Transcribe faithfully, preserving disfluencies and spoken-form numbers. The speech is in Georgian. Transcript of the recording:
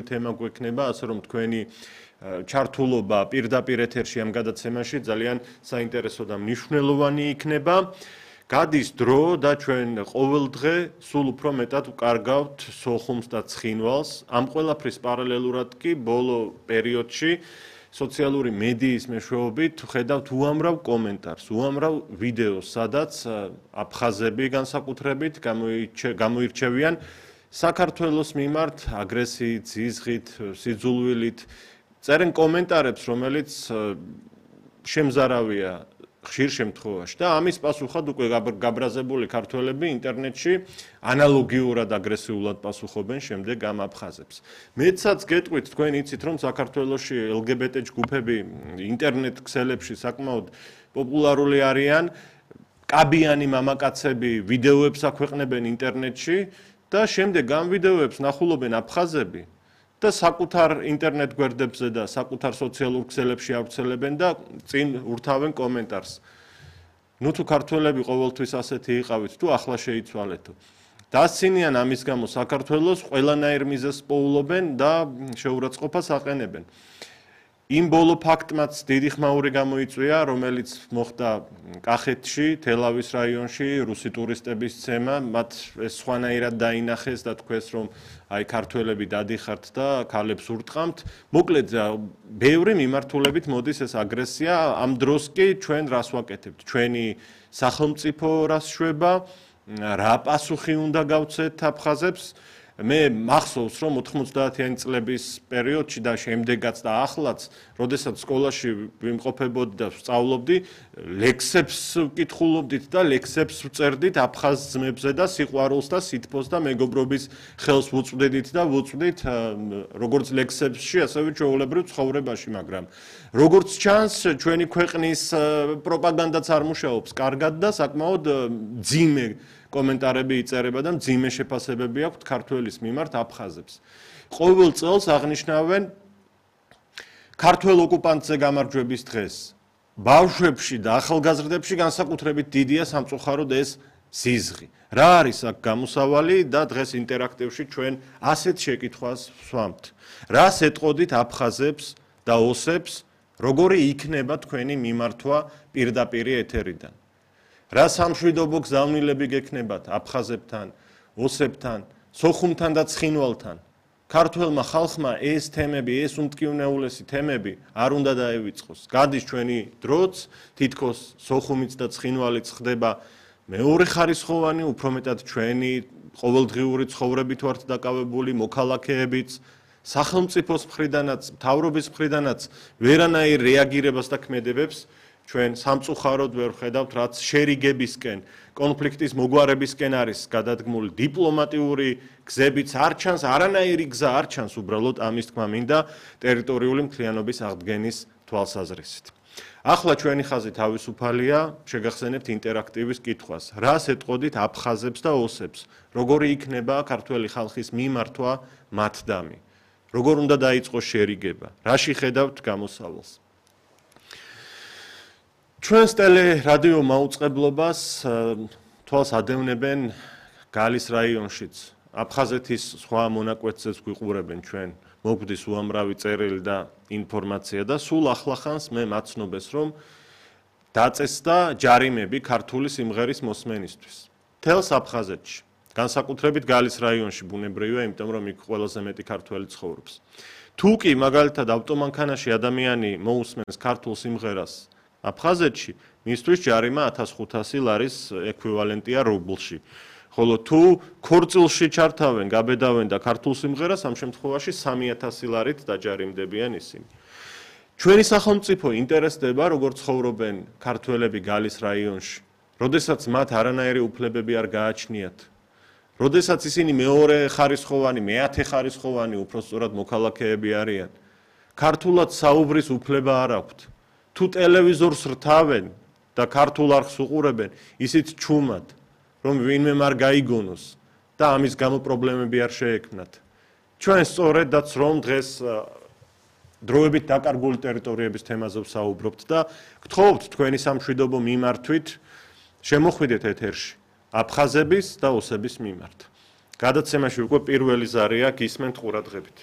სერიოზული თემა გვექნება, ასე რომ თქვენი ჩართულობა პირდაპირ ეთერში ამ გადაცემაში ძალიან საინტერესო და მნიშვნელოვანი იქნება. გადის დრო და ჩვენ ყოველდღე სულ უფრო მეტად ვკარგავთ სოხუმს და ცხინვალს. ამ ყველაფრის პარალელურად კი ბოლო პერიოდში სოციალური მედიის მეშვეობით ხედავთ უამრავ კომენტარს, უამრავ ვიდეოს, სადაც აფხაზები განსაკუთრებით გამოირჩევიან საქართველოს მიმართ აგრესიით, ზიზღით, სიძულვილით. წერენ კომენტარებს, რომელიც შემზარავია ხშირ შემთხვევაში და ამის პასუხად უკვე გაბრაზებული ქართველები ინტერნეტში ანალოგიურად აგრესიულად პასუხობენ შემდეგ ამ აფხაზებს. მეცაც გეტყვით, თქვენ იცით, რომ საქართველოში ელ გი ბი ტე ჯგუფები ინტერნეტ ქსელებში საკმაოდ პოპულარული არიან, კაბიანი მამაკაცები ვიდეოებს აქვეყნებენ ინტერნეტში და შემდეგ ამ ვიდეოებს ნახულობენ აფხაზები და საკუთარ ინტერნეტ გვერდებზე და საკუთარ სოციალურ ქსელებში ავრცელებენ და წინ ურთავენ კომენტარს. ნუ თუ ქართველები ყოველთვის ასეთი იყავით, თუ ახლა შეიცვალეთო. დასცინიან ამის გამო საქართველოს ყველანაირ მიზეზს პოულობენ და შეურაცხყოფას აყენებენ. იმ ბოლო ფაქტმაც დიდი ხმაური გამოიწვია, რომელიც მოხდა კახეთში, თელავის რაიონში, რუსი ტურისტების ცემა, მათ ეს სხვანაირად დაინახეს და თქვეს, რომ აი ქართველები დადიხართ და ქალებს ურტყამთ. მოკლედ, ბევრი მიმართულებით მოდის ეს აგრესია, ამ დროს კი ჩვენ რას ვაკეთებთ? ჩვენი სახელმწიფო რას შვება, რა პასუხი უნდა გავცეთ აფხაზებს? მე მახსოვს, რომ ოთხმოცდაათიანი წლების პერიოდში და შემდეგაც და ახლაც, როდესაც სკოლაში ვიმყოფებოდი და ვსწავლობდი, ლექსებს ვკითხულობდით და ლექსებს ვწერდით აფხაზ ძმებზე და სიყვარულს და სითბოს და მეგობრობის ხელს ვუწვდით და ვუწვდით როგორც ლექსებში, ასევე ჩვეულებრივ ცხოვრებაში, მაგრამ როგორც ჩანს, ჩვენი ქვეყნის პროპაგანდაც არ მუშაობს კარგად და საკმაოდ მძიმე კომენტარები იწერება და მძიმე შეფასებები აქვთ ქართველის მიმართ აფხაზებს. ყოველ წელს აღნიშნავენ ქართველ ოკუპანტზე გამარჯვების დღეს. ბავშვებში და ახალგაზრდებში განსაკუთრებით დიდია სამწუხაროდ ეს ზიზღი. რა არის აქ გამოსავალი და დღეს ინტერაქტივში ჩვენ ასეთ შეკითხვას ვსვამთ. რას ეტყოდით აფხაზებს და ოსებს, როგორი იქნება თქვენი მიმართვა პირდაპირი ეთერიდან? რა სამშვიდობო გზავნილები გექნებათ აფხაზებთან, ოსებთან, სოხუმთან და ცხინვალთან? ქართველმა ხალხმა ეს თემები, ეს უმტკივნეულესი თემები არ უნდა დაევიწყოს. გადის ჩვენი დროც, თითქოს სოხუმიც და ცხინვალიც ხდება მეორე ხარისხოვანი, უფრო მეტად ჩვენი ყოველდღიური ცხოვრებით ვართ დაკავებული მოქალაქეებიც, სახელმწიფოს მხრიდანაც, მთავრობის მხრიდანაც ვერანაირ რეაგირებას და ქმედებებს ჩვენ სამწუხაროდ ვერ ვხედავთ, რაც შერიგებისკენ, კონფლიქტის მოგვარებისკენ არის გადადგმული დიპლომატიური გზებიც არ ჩანს, არანაირი გზა არ ჩანს უბრალოდ ამის თქმა მინდა ტერიტორიული მთლიანობის აღდგენის თვალსაზრისით. ახლა ჩვენი ხაზი თავისუფალია, შეგახსენებთ ინტერაქტივის კითხვას. რას ეტყოდით აფხაზებს და ოსებს? როგორი იქნება ქართველი ხალხის მიმართვა მათდამი? როგორ უნდა დაიწყოს შერიგება? რაში ხედავთ გამოსავალს? ჩვენს ტელე-რადიო მაუწყებლობას თვალს ადევნებენ გალის რაიონშიც. აფხაზეთის სხვა მონაკვეთზეც გვიყურებენ ჩვენ. მოგვდის უამრავი წერილი და ინფორმაცია და სულ ახლახანს მე მაცნობეს, რომ დაწესდა ჯარიმები ქართული სიმღერის მოსმენისთვის. თელს აფხაზეთში, განსაკუთრებით გალის რაიონში ბუნებრივია, იმიტომ რომ იქ ყველაზე მეტი ქართველი ცხოვრობს. თუ კი მაგალითად ავტომანქანაში ადამიანი მოусმენს ქართულ სიმღერას აფხაზეთში, მისთვის ჯარიმა ათას ხუთასი ლარის ექვივალენტია რუბლში. ხოლო თუ ქორწილში ჩართავენ, გაბედავენ და ქართულ სიმღერას, ამ შემთხვევაში სამი ათასი ლარით დაჯარიმდებიან ისინი. ჩვენი სახელმწიფო ინტერესდება, როგორც ცხოვრობენ ქართველები გალის რაიონში, როდესაც მათ არანაირი უფლებები არ გააჩნიათ. როდესაც ისინი მეორე ხარისხოვანი, მეათე ხარისხოვანი, უფრო სწორად მოქალაქეები არიან. ქართულად საუბრის უფლება არ აქვთ. თუ ტელევიზორს რთავენ და ქართულ არხს უყურებენ, ისიც ჩუმად, რომ ვინმე არ გაიგონოს და ამის გამო პრობლემები არ შეექმნათ. ჩვენ სწორედაც რომ დღეს დროებით დაკარგული ტერიტორიების თემაზე ვსაუბრობთ და გთხოვთ თქვენი სამშვიდობო მიმართვით შემოხვიდეთ ეთერში აფხაზების და ოსების მიმართ. გადაცემაში უკვე პირველი ზარია გისმენთ ყურადღებით.